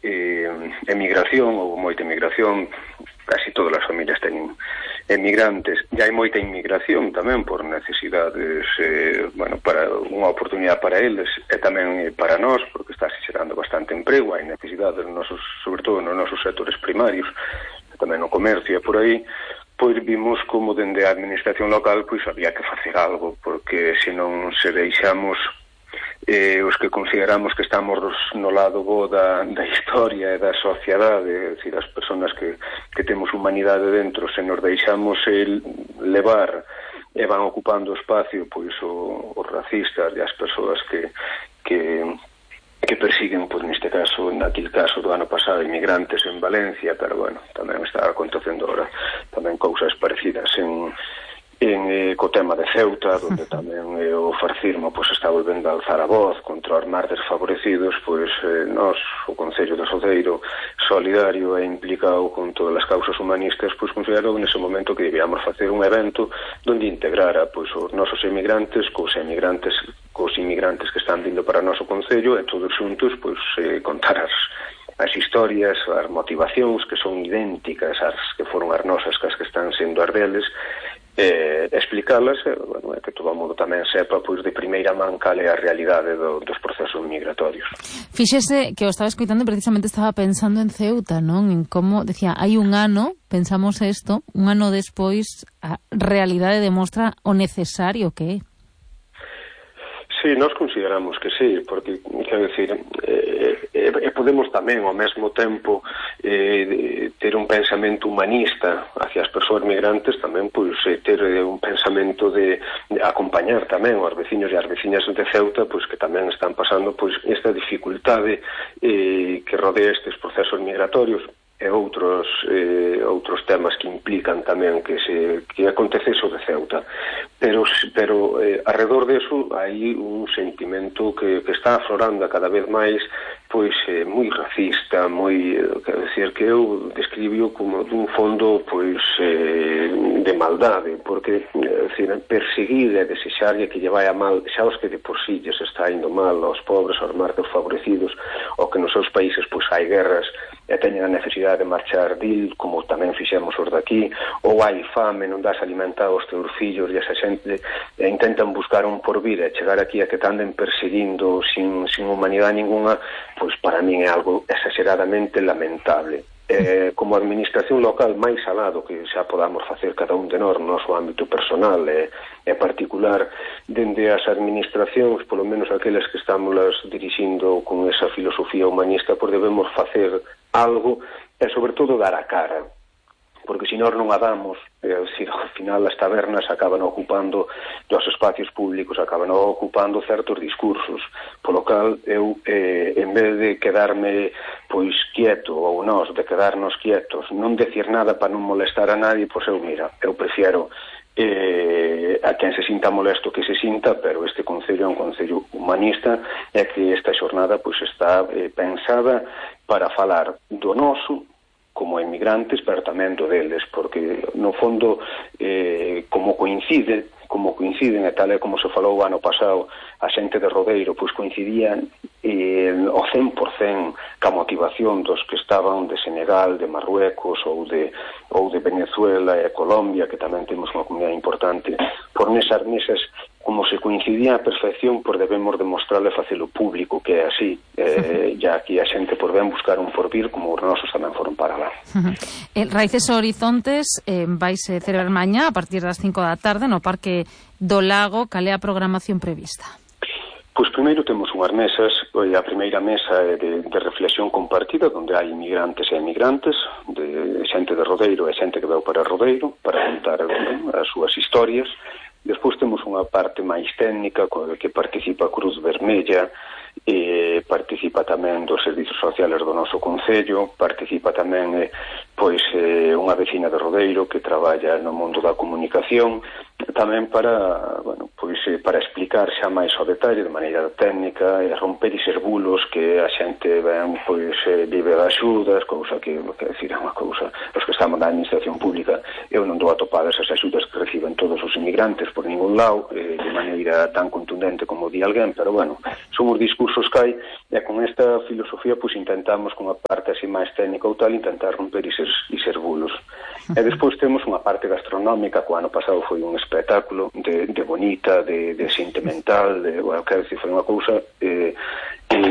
emigración, ou moita emigración, casi todas as familias teñen emigrantes, e hai moita inmigración tamén por necesidades, para unha oportunidade para eles e tamén para nós, porque está xerando bastante emprego, hai necesidades sobre todo nos nosos sectores primarios, tamén no comercio e por aí, pois vimos como dende a administración local pois había que facer algo, porque senón se deixamos os que consideramos que estamos no lado bo da historia e da sociedade, é dicir, as persoas que temos humanidade dentro, se nos deixamos levar e van ocupando o espacio pois os racistas e as persoas que persiguen, pois neste caso, naquele caso do ano pasado, inmigrantes en Valencia, pero bueno, tamén está acontecendo ahora tamén cousas parecidas co tema de Ceuta, onde tamén o fascismo pois está volvendo a alzar a voz contra os máis desfavorecidos, pois nós, o Concello de Rodeiro, solidario e implicado con todas as causas humanistas, pois considerou nese momento que debíamos facer un evento onde integrara pois os nosos emigrantes cos inmigrantes que están vindo para o noso Concello, e todos xuntos pois contar as historias, as motivacións que son idénticas ás que foron as nosas, que as que están sendo as deles, explicalas, que todo o mundo tamén sepa pois de primeira man cal é a realidade dos procesos migratorios. Fíxese que o estaba escoitando e precisamente estaba pensando en Ceuta, non? En como, decía, hai un ano, pensamos isto, un ano despois a realidade demostra o necesario que é. Sí, nós consideramos que sí, porque, quero dicir, podemos tamén, ao mesmo tempo, ter un pensamento humanista hacia as persoas migrantes, tamén, pois, ter un pensamento de acompañar tamén aos veciños e as veciñas de Ceuta, pois, que tamén están pasando, pois, esta dificultade que rodea estes procesos migratorios, e outros temas que implican tamén que acontece iso de Ceuta, pero alrededor deso hai un sentimento que está aflorando cada vez máis, pois moi racista, quero dicir, que eu describio como dun fondo pois de maldade, porque perseguir e desexar que lle vai a mal xa os que de por sí lles está indo mal, aos pobres, aos máis desfavorecidos, ou que nos seus países pois hai guerras e teñen a necesidade de marchar dil, como tamén fixemos os daqui, ou hai fame, non das alimentado aos teus fillos, e esa xente intentan buscar un porvir e chegar aquí a que te anden perseguindo sin humanidade ninguna, pois para min é algo exageradamente lamentable. Como administración local, máis alado que xa podamos facer cada un de nós no noso ámbito personal e particular, dende as administracións, polo menos aquelas que estamos dirixindo con esa filosofía humanista, pois debemos facer algo e, sobre todo, dar a cara, porque se nós non a damos, ao final as tabernas acaban ocupando os espacios públicos, acaban ocupando certos discursos, polo cal eu, en vez de quedarme pois quieto, ou nós de quedarnos quietos, non decir nada para non molestar a nadie, pois eu prefiero a quen se sinta molesto que se sinta, pero este Concello é un Concello humanista, e que esta xornada pois está pensada para falar do noso como emigrantes, pero tamén do deles, porque no fondo como coinciden e tal e como se falou o ano pasado, a xente de Rodeiro pois coincidían ao 100% ca motivación dos que estaban de Senegal, de Marruecos ou de Venezuela e Colombia, que tamén temos unha comunidade importante, por nesas mesas, como se coincidía a perfección, pois debemos demostrarle facelo público que é así, ya aquí a xente por ben buscar un porvir como os nosos tamén foron para lá. Raíces Horizontes vaise celebrar mañá a partir das 5 da tarde no Parque do Lago. Cal é a programación prevista? Pois primeiro temos unhas mesas, a primeira mesa é de reflexión compartida, onde hai inmigrantes e emigrantes, de xente de Rodeiro e xente que veu para Rodeiro, para contar as súas historias. Despois temos unha parte máis técnica, que participa a Cruz Vermella, participa tamén dos servizos sociales do noso Concello, participa tamén unha vecina de Rodeiro que traballa no mundo da comunicación, tamén para, bueno, pois para explicar xa máis ao detalle de maneira técnica e romper eses bulos que a xente ven, pois vive de axudas, cousa que decir, é unha cousa, os que estamos na administración pública, eu non dou atopadas as axudas que reciben todos os inmigrantes por ningún lado, de maneira tan contundente como di alguén, pero bueno, son os discursos que hai, e con esta filosofía pois intentamos, con a parte así máis técnica ou tal, intentar romper eses bulos. E despois temos unha parte gastronómica, que o ano pasado foi un espectáculo de bonita, de sentimental, bueno, quero dicir, foi unha cousa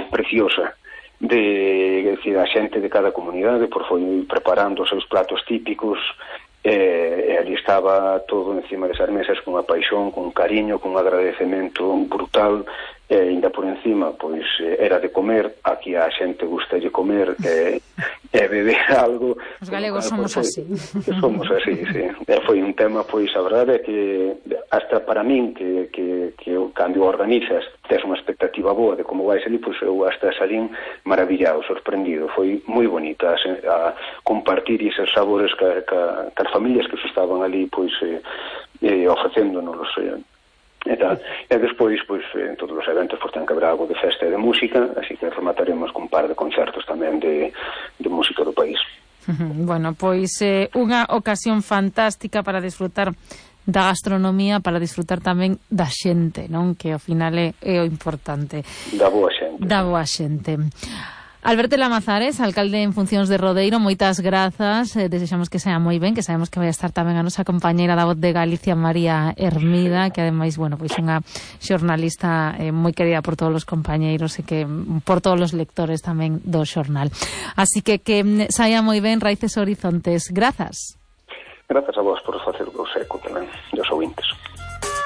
preciosa, decir, a xente de cada comunidade foi preparando os seus platos típicos, e ali estaba todo encima desas mesas con unha paixón, con un cariño, con un agradecemento brutal, e ainda por encima, pois, era de comer, aquí a xente gusta de comer e beber algo. Os galegos somos así. Somos así, sí. E foi un tema, pois, a verdade é que hasta para min, que cando organizas, tes unha expectativa boa de como vais ali, pois eu hasta salín maravillado, sorprendido. Foi moi bonita a compartir esos sabores as familias que se estaban ali, pois, ofrecéndonos e tal. E despois, pois, en todos os eventos ten que haber algo de festa e de música, así que remataremos con un par de concertos tamén de música do país. Bueno, pois unha ocasión fantástica para disfrutar da gastronomía, para disfrutar tamén da xente, non? Que ao final é o importante. Da boa xente. Da boa xente. Alberto Lamazares, alcalde en funcións de Rodeiro, moitas grazas, desexamos que sea moi ben, que sabemos que vai estar tamén a nosa compañeira da Voz de Galicia, María Hermida, que ademais, bueno, pois unha xornalista moi querida por todos os compañeiros e que por todos os lectores tamén do xornal. Así que saia moi ben Raíces Horizontes. Grazas. Grazas a vos por facer o seco tamén dos ouvintes.